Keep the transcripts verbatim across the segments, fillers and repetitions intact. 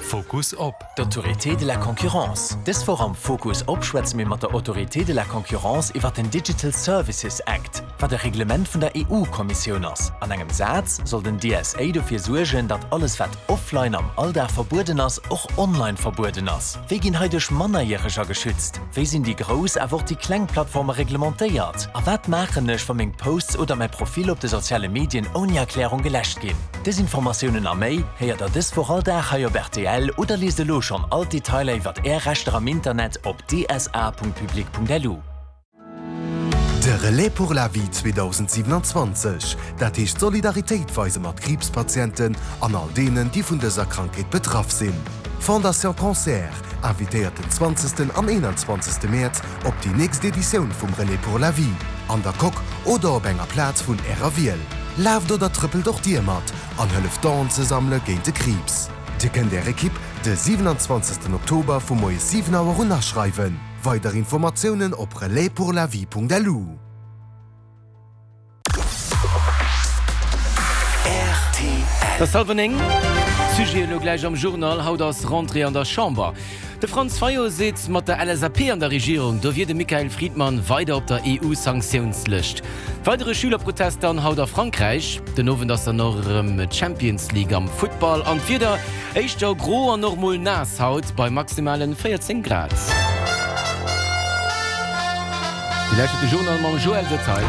Fokus op. D'Autorité de la concurrence. Dës Woch am Fokus op schwätze mir mat der Autorité de la concurrence iwwer den Digital Services Act, wat e Reglement vun der EU-Kommissioun ass. An engem Saz soll den DSA dofir suergen, datt alles wat offline am Alldag verbueden ass, och online verbueden ass. Wéi ginn hei duerch Mannerjäreger geschützt? Wéi sinn déi grouss awer och déi kleng Plattforme reglementéiert? A wat maachen ech, wa meng Posts oder mäi Profil op de soziale Medien ouni Erklärung geläscht ginn? Dës Informatiounen a méi héiert der dës Woch all Dag hei op rtl oder liest elo schonn all d'Detailer iwwer Är Rechter am Internet op dsa.public.lu. De Relais pour la vie zweedausendsiewenanzwanzeg, dat heescht Solidaritéit weise mat Kriibspatienten an all deenen, déi vun dëser Krankheet betraff sinn. D'Fondation Cancer invitéiert den zwanzegsten an eenanzwanzegste Mäerz op déi nächst Editioun vum Relais pour la vie, an der Coque oder op enger Plaz vun Ärer Wiel. Laaft oder trëppelt och Dir mat an hëlleft Donen ze sammele géint de Kriibs. Dir kënnt Är Ekipp de siwenanzwanzegsten Oktober vu moies siwen Auer un aschreiwen. Weider Informatiounen op relaispourlavie.lu. Et ass hallwer néng. Sujet elo gläich am Journal, Haut ass Rentrée an der Chamber. De Franz Fayot seet, mat der L S A P an der Regierung, do wier de Michael Friedman weider op der E U-Sanktiounslëscht. Weidere Schülerprotest dann haut a Frankräich. Den Owend ass dann och erëm d'Champions League am Futtball. An d'Wieder, éischter gro an och mol naass haut bei maximalen véierzéng Grad. Dir lauschtert de Journal mam Joël Detail.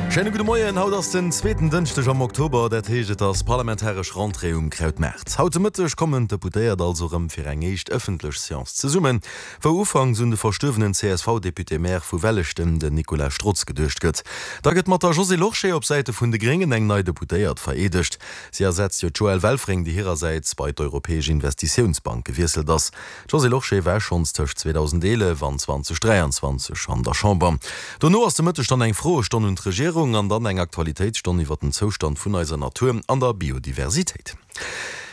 Schéine gudde Moien. Haut ass den zweeten Dënschdeg am Oktober, dat heescht et ass parlamentaresch Rentrée um Krautmaart. Haut de Mëtteg kommen d'Deputéiert also erëm fir eng éischt ëffentlech Seance zesummen, wou ufanks un de verstuerwenen C S V-Député-Maire vu Welleschten, den Nicolas Strotz, geduecht gëtt. Da gëtt mat der Josée Lorsché op Säite vun de Gréngen eng nei Deputéiert vereedegt. Si ersetzt jo d'Joëlle Welfring, déi hirersäits bei d'Europäesch Investitiounsbank gewiesselt ass. D'Josée Lorsché war schonns tëscht zweedausendeelef an zweedausendräianzwanzeg an der Chamber. Dono ass de Mëtteg dann eng Froestonn un d'Regierung an dann eng Aktualitéitsstonn iwwer den Zoustand vun eiser Natur an der Biodiversitéit.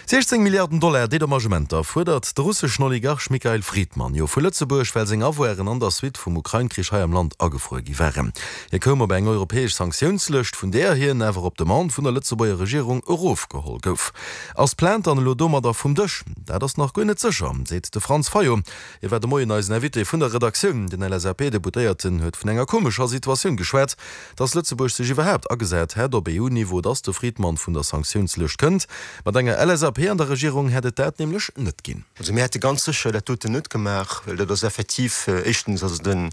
siechzéng Milliarden Dollar Dedommagementer fuerdert de russeschen Oligarch Mikhail Fridman jo vu Lëtzebuerg, well seng Avoiren an der Suite vum Ukrain-Krich hei am Land agefruer gi waren. Hie koum op eng europäesch Sanktiounslëscht, vun där hien awer op Demande vun der Lëtzebuerger Regierung erofgeholl gouf. Ass d'Plainte dann elo domadder vum Dësch? Dat ass nach guer net sécher, seet de Franz Fayot. Hie war de Moien eisen Invité vun der Redaktioun. Den L S A P-Deputéierten huet vun enger komescher Situatioun geschwat, datt Lëtzebuerg sech iwwerhaapt agesat hätt op E U-Niveau, datt de Fridman vun der Sanktiounslëscht kënnt. Mat enger L S A P an der Regierung hätt et dat nämlech net ginn. Also mir hätte ganz sécher dat doten net gemaach, well dat ass effektiv, éischtens ass et e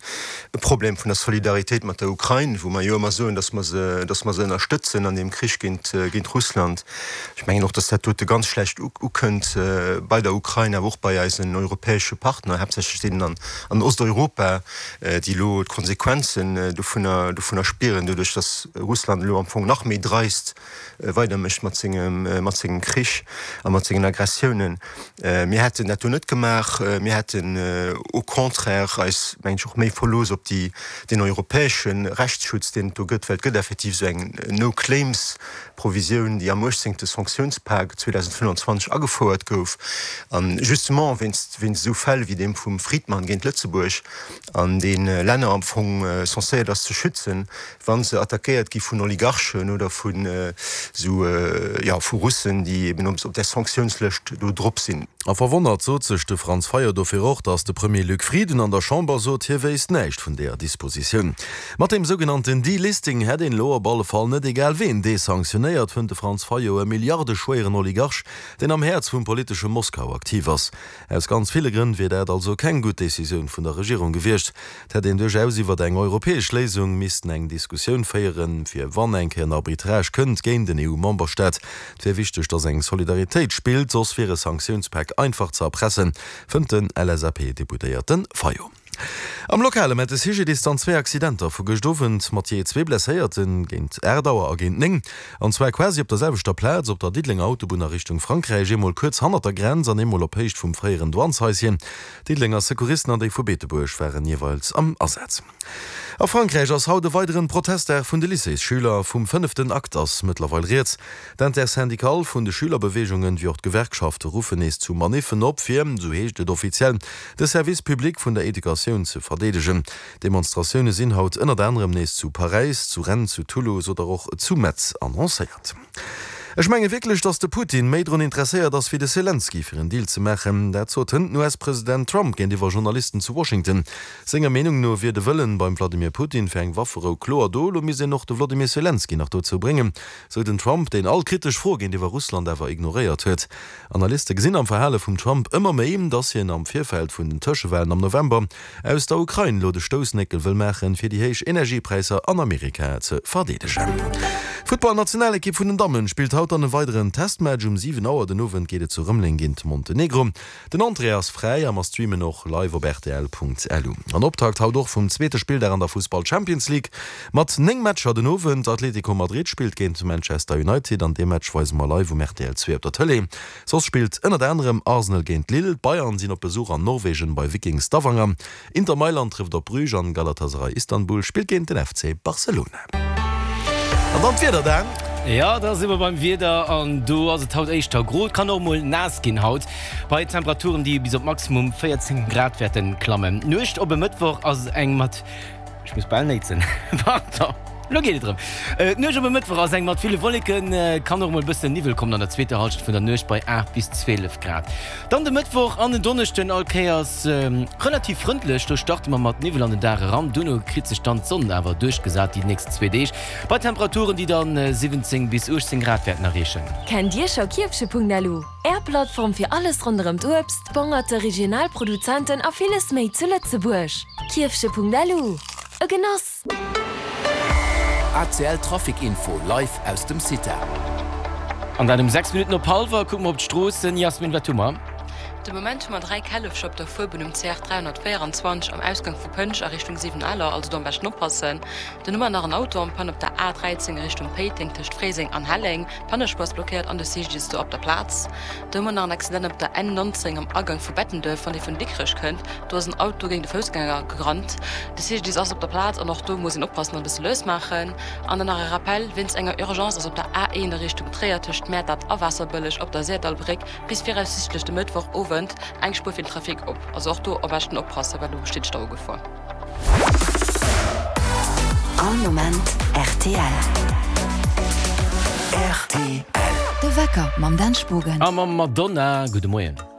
Problem vun der Solidaritéit mat der Ukrain, wou mer jo ëmmer soen, datt mer se, datt mer se ënnerstëtzen an deem Krich géint, géint Russland. Ech mengen och, datt dat dote ganz schlecht ukënnt bei der Ukrain, awer och bei eisen europäesche Partner, haaptsächlech deenen an, an Osteuropa, déi elo d'Konsequenzen dovunner, dovunner spieren, doduerch datt Russland elo am Fong nach méi dreist weidermécht mat sengem, mat sengem Krich a mat sengen Aggressiounen. Mir hätten dat do net gemaach. Mir hätten au contraire eis, mengen ech, och méi verlooss op déi, deen europäesche Rechtsschutz, deen et do gëtt, well et gëtt effektiv esou eng No-Claims-Provisioun, déi am uechtzéngte Sanktiounspak zweedausendfënnfanzwanzeg agefouert gouf, a justement wéinst, wéinst esou Fäll wéi deem vum Fridman géint Lëtzebuerg, an dee Länner am Fong censéiert ass ze schützen, wa se attackéiert gi vun Oligarchen oder vun esou, jo, vu Russen, déi eben op där Sanktiounslëscht do drop sinn. A verwonnert sot sech de Franz Fayot dofir och, datt de Premier Luc Frieden an der Chamber sot, hie wéisst näischt vun deeër Dispositioun. Mat deem sougenannten Delisting hätt een elo op alle Fall net egal ween desanktionéiert, fënnt de Franz Fayot, e milliardeschwéieren Oligarch, deen am Häerz vum politesche Moskau aktiv ass. Aus ganz ville Grënn wier dat also keng gutt Decisioun vun der Regierung gewiescht. Et hätt een duerchaus iwwert eng europäesch Léisung missten eng Diskussioun féieren, fir wann eng Kéier en Arbitrage kënnt géint en E U-Memberstaat. Et wier wichteg, datt eng Solidaritéit spillt, soss wier e Sanktiounspak einfach ze erpressen, fënnt den L S A P-Deputéierte Fayot. Am Lokale mellt de C G D I S dann zwee Accidenter vu gëscht Owend mat jee zwee Blesséierten, géint aacht Auer a géint néng, an zwar quasi op der selwechter Plaz op der Diddelenger Autobunn a Richtung Frankräich, eemol kuerz hannert der Grenz an eemol op Héicht vum fréieren Douaneshaischen. D'Diddelenger Secouristen an déi vu Beetebuerg waren jeeweils am Asaz. A Frankräich ass haut e weideren Protestdag vun de Lycéesschüler. Vum fënneften Akt ass mëttlerweil rieds. D'Intersyndicale vun de Schülerbeweegungen, wéi och d'Gewerkschafte ruffen nees zu Maniffen op, fir, sou heescht et offiziell, de Service public vun der Educatioun ze verdeedegen. Demonstratioune sinn haut ënnert anerem nees zu Paräis, zu Rennes, zu Toulouse oder och zu Metz annoncéiert. Ech menge wierklech, datt de Putin méi drun interesséiert ass wéi de Selenskyj, fir en Deal ze maachen. Dat sot hënt den US-President Trump géintiwwer Journalisten zu Washington. Senger Meenung no wier de Wëllen beim Wladimir Putin fir eng Wafferou kloer do. Elo misst een och de Wladimir Selenskyj nach dozou bréngen, sou den Trump, deen all kritesch Fro géintiwwer Russland awer ignoréiert huet. Analyste gesinn am Verhale vum Trump ëmmer méi, datt hien am Virfeld vun den Tëschewalen am November aus der Ukrain elo de Stoussnéckel wëll maachen, fir déi héich Energiepräisser an Amerika ze verdeedegen. D'Futtballnationalekipp vun den Dammen spillt haut dann e weideren Testmatch. Um siwen Auer den Owend geet et zu Rëmeleng géint Montenegro. Den Entrée ass fräi a mer streamen och live op rtl.lu. An Optakt haut och vum zweete Spilldag an der Fussball Champions League mat néng Matcher den Owend. Atlético Madrid spillt géint Manchester United an dee Match weise mer live um rtl zwee op der Tëlee. Soss spillt ënnert anerem Arsenal géint Lille, d'Bayern sinn op Besuch an Norwegen bei Viking Stavanger, Inter Mailand trëfft op Bruges an Galatasaray Istanbul spillt géint den F C Barcelona. An dann d'Wieder, Dan. Jo, da si mer beim Wieder an do ass et haut éischter gro. Et kann och mol naass ginn haut, bei Temperaturen, déi bis op maximum véierzéng Grad wäerte klammen. D'Nuecht op e Mëttwoch ass eng mat. Ech muss bal néitsen. Pardon. Lo geet et erëm. D'Nuecht op e Mëttwoch ass eng mat ville Wolleken. Et kann och mol e bëssen Niwwel kommen an der zweeter Hallschent vun der Nuecht bei aacht bis zwielef Grad. Dann de Mëttwoch an den Donneschden all Kéiers relativ frëndlech. Do starte mer mat Niwwel an den Dag eran. Duerno kritt sech dann d'Sonn awer duerchgesat déi nächst zwee Deeg bei Temperaturen, déi dann siwwenzéng bis uechtzéng Grad wäerten erreechen. Kennt Dir scho Kierfche Punkt L U? Är Plattform fir alles ronderëm d'Uebst, Bongerte, regional Produzenten a villes méi zu Lëtzebuerg. Kierfche Punkt L U. E Genoss! A C L Trafic Info live aus dem CITA. An dat um sechs Minutten op hallwer. Kucke mer op d'Stroossen. Jasmin, wat hu mer? De Moment hu mer dräi Källefcher op der Fuerbunn um C R dräihonnertvéierundzwanzeg am Ausgang vu Pënsch a Richtung Siwenaler, also do am beschten oppassen. Dann hu mer nach en Auto en panne op der A dräizéng a Richtung Péiteng tëscht Fréiseng an Helleng, d'Pannespuer ass blockéiert an de C G I S do op der Plaz. Do hu mer nach en Accident op der N nonzéng am Agank vu Bettenduerf, wann ee vun Dikrech kënnt, do ass en Auto géint e Foussgänger gerannt. De C G I S ass op der Plaz an och do muss een oppassen an e bësse lues maachen. An dann nach e Rappel, Wéinst enger Urgence ass op der A een a Richtung Tréier tëscht Mäertert a Waasserbëlleg op der Syrdallbréck bis viraussiichtlech de Mëttwoch Owend eng Spuer fir den Trafic op. Also och do am beschten oppassen, well do besteet Staugefor. All Moment R T L. R T L. De Wecker mam Dan Spogen. A mam Madonna. Gudde Moien.